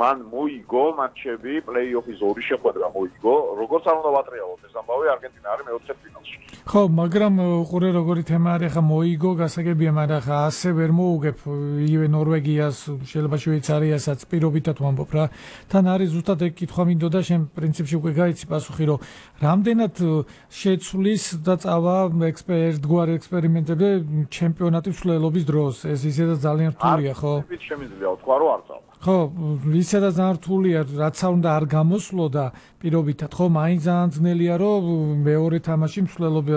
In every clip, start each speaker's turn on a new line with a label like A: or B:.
A: მან მოიგო მატჩები, პლეი-ოფის 2 შეხვედრა მოიგო, როგორც არ უნდა ვატრიალოთ ეს ამბავი, არგენტინა არის მეოთხედფინალში.
B: ხო, მაგრამ უყურე როგორი თემა არის, ხა მოიგო, გასაგებია, მაგრამ ხა ასე ვერ მოუგებ იგივე ნორვეგიას, შეიძლება შვეიცარიასაც პირობითად ვამბობ რა. თან არის ზუსტად ეგ კითხვა მინდოდა, შენ პრინციპში უკვე გაიცი პასუხი, რომ რამდენად შეცვლის და წავა ერთგვარი ექსპერიმენტები ჩემპიონატის მსვლელობის დროს. ეს ისედაც ძალიან რთულია, ხო?
A: შემიძლია ვთქვა, რომ არ წავა.
B: ხო, ისედაც ძალიან რთულია, რაც არ უნდა არ გამოსვლო და პირობითად, ხო, მაინც ძალიან ძნელია, რომ მეორე თამაში მსვლელობა,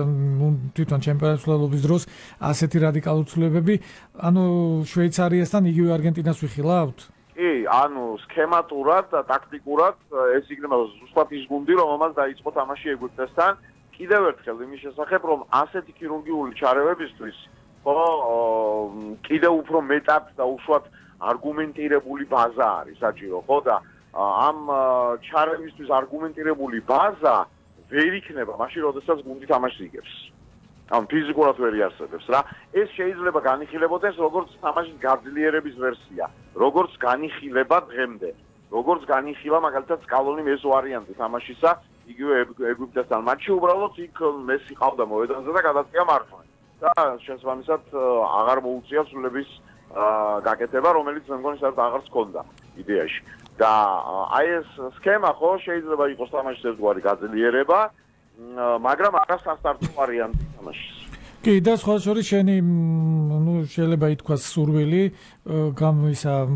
B: თვითონ ჩემპიონატის მსვლელობის დროს ასეთი რადიკალური ცვლილებები, ანუ შვეიცარიასთან იგივე არგენტინას ვიხილავთ?
A: კი, ანუ სქემატურად და ტაქტიკურად ეს იქნება ზუსტად ის გუნდი, რომელმაც დაიწყო თამაში ეგვიპტესთან. კიდევ ერთხელ იმის შესახებ, რომ ასეთი ქირურგიული ჩარევებისთვის, ხო, კიდევ უფრო მეტად და უშუალოდ არგუმენტირებული ბაზა არის საჭირო, ხო და ამ ჩარევისთვის არგუმენტირებული ბაზა ვერ იქნება მაშინ, როდესაც გუნდი თამაშს იგებს. ან ფიზიკურად ვერ იარსებებს რა. ეს შეიძლება განიხილებოდეს როგორც თამაშის გაძლიერების ვერსია, როგორც განიხილება დღემდე, როგორც განიხილა მაგალითად სკალონიმ ეს ვარიანტი თამაშისა, იგივე ეგვიპტესთან მატჩი უბრალოდ იქ მესი ყავდა მოედანზე და გადაწია მარჯვნივ. და შესაბამისად აღარ მოუწია ცვლილების გაკეთება, რომელიც მე მგონი საერთოდ აღარც ჰქონდა იდეაში. და აი ეს სქემა ხო შეიძლება იყოს თამაშის ერთგვარი გაძლიერება, მაგრამ არა სასტარტო ვარიანტი თამაშის.
B: კი, და სხვა შორის შენი შეიძლება ითქვას სურვილი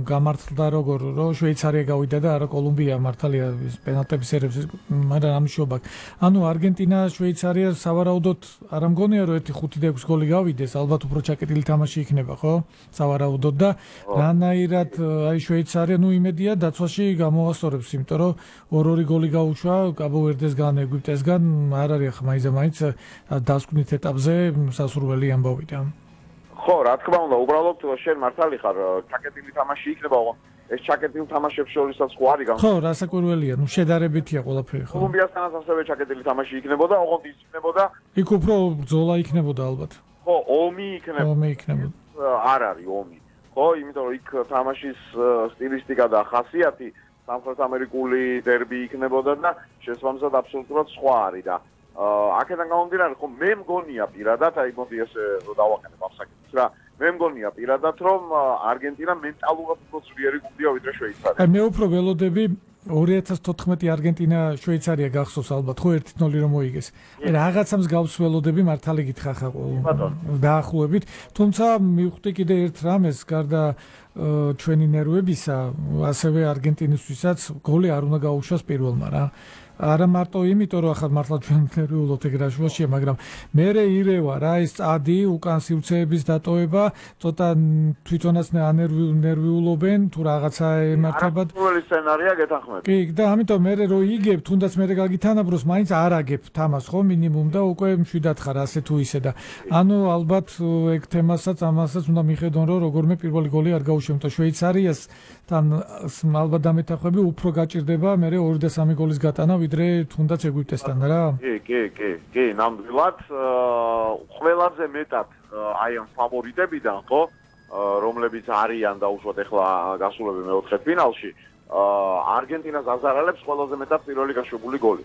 B: გამართლდა როგორ რომ შვეიცარია გავიდა და არა კოლუმბია მართალია პენალტების ერევს, მაგრამ ამიშობა. ანუ არგენტინა შვეიცარია სავარაუდოდ არ ამგონია რომ 1-5-6 გოლი გავიდეს, ალბათ უფრო ჩაკეტილი თამაში იქნება, ხო? სავარაუდოდ და რანაირად აი შვეიცარია იმედია დაცვაში გამოასწორებს, იმიტომ რომ 2-2 გოლი გაუშვა კაბო-ვერდესგან, ეგვიპტესგან, არ არის ახლა მაინც დასკვნით ეტაპზე სასურველი ამბავია.
A: ხო, რა თქმა უნდა, უბრალოდ შენ მართალი ხარ, ჩაკეტილი თამაში იქნება, ეს ჩაკეტილ თამაშებს შორისაც ხო არის
B: ხო, რასაკვირველია, შედარებითია ყველაფერი, ხო.
A: კოლუმბიასთანაც ასევე ჩაკეტილი თამაში იქნებოდა, ოღონდ ის იქნებოდა.
B: იქ უფრო ბრძოლა იქნებოდა ალბათ.
A: ხო, ომი იქნებოდა. არ არის ომი. ხო, იმიტომ რომ იქ თამაშის სტილისტიკა და ხასიათი სამხრეთ ამერიკული დერბი იქნებოდა და შესაბამისად აბსოლუტურად სხვა არის და აქედან გამომდინარე, ხო, მე მგონია პირადად, აი მოდი ესე დავაყენებ ამ საკითხს რა. მე მგონია პირადად, რომ არგენტინა მენტალურად უფრო ძლიერი გუნდია ვიდრე შვეიცარია.
B: მე უფრო ველოდები 2014 არგენტინა შვეიცარია გახსოვს ალბათ, ხო 1-0 რომ მოიგეს. რაღაცა მსგავს ველოდები მართალი გითხრა ხა დაახლოებით, თუმცა მივხვდი კიდე ერთ რამეს, გარდა ჩვენი ნერვებისა, ასევე არგენტინისთვისაც გოლი არ უნდა გაუშვას პირველმა რა. არა მარტო იმიტომ რომ ახლა მართლა ჩვენ ნერვიულობთ ეგ რა შუაშია, მაგრამ მერე ირევა რა ეს წადი უკან სივრცეების დატოვება, ცოტა თვითონაც ნერვიულობენ თუ რაღაცა ემართებათ.
A: პირველი სცენარია გეთანხმები.
B: კი, და ამიტომ მერე რო იგებ, თუნდაც მერე გაგითანაბროს, მაინც არ აგებ თამას ხო მინიმუმ და უკვე მშვიდად ხარ ასე თუ ისე და ანუ ალბათ ეგ თემასაც ამასაც უნდა მიხედონ რომ როგორმე პირველი გოლი არ გაუშვენ და შვეიცარიასთან ალბათ დამეთანხმები უფრო გაჭირდება მერე 2 და 3 გოლის გატანა ვიდრე თუნდაც ეგვიპტესთან რა.
A: კი, ნამდვილად ყველაზე მეტად აი ამ ფავორიტებიდან ხო, რომლებიც არიან დაუშვათ ახლა გასულები მეოთხედფინალში, არგენტინას აზარალებს ყველაზე მეტად პირველი გაშვებული გოლი.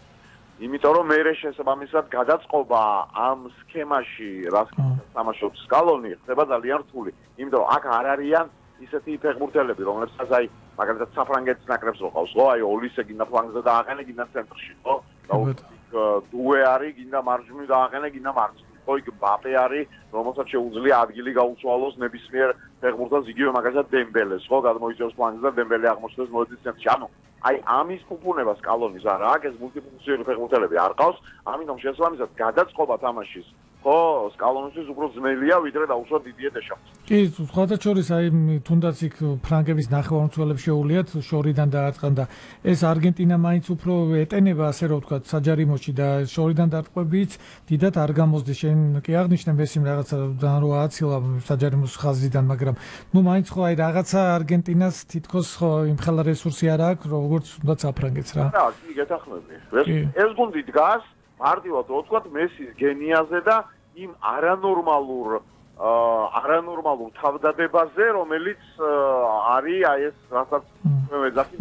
A: იმიტომ რომ მერე შესაბამისად გადაწყობა ამ სქემაში, რაც თამაშობს სკალონი, ხდება ძალიან რთული. იმიტომ რომ აქ არ არიან ისეთი ფეხბურთელები, რომლებსაც აი მაგალითად საფრანგეთის ნაკრებს რო ყავს, ხო, აი ოლისე გინდა ფლანგზე დააყენე, გინდა ცენტრში, ხო? და დუე არის, გინდა მარჯვნივ დააყენე, გინდა მარცხნივ. ხო, იქ ბაპე არის, რომელსაც შეუძლია ადგილი გაუცვალოს ნებისმიერ ფეხბურთელს, იგივე მაგალითად დემბელეს, ხო, გადმოიწევს ფლანგზე და დემბელე აღმოჩნდეს მოედის ცენტრში. ანუ აი ამის ფუფუნება სკალონის არა აქვს, ეს მულტიფუნქციონალური ფეხბურთელები არ ყავს, ამიტომ შესაბამისად გადაწყობა თამაშის ხო, სკალონისთვის უფრო ძნელია, ვიდრე დაუშვათ დიდია დეშამს.
B: კი, სხვათა შორის აი თუნდაც იქ ფრანგების ნახევარმცველებს შეუულიათ შორიდან დაარტყან და ეს არგენტინა მაინც უფრო ეტენება, ასე რომ ვთქვათ, საჯარიმოში და შორიდან დარტყმებით დიდად არ გამოსდეს. შენ კი აღნიშნე მესიმ რაღაცა ძალიან რო ააცილა საჯარიმოს ხაზიდან, მაგრამ ნუ მაინც ხო აი რაღაცა არგენტინას თითქოს ხო იმ ხელა რესურსი არ აქვს, როგორც თუნდაც საფრანგეთს რა.
A: რა, კი, გეთანხმები. ეს გუნდი დგას მარტივად რო ვთქვათ მესის გენიაზე და იმ არანორმალურ თავდადებაზე, რომელიც არის აი ეს რასაც მე ვეძახი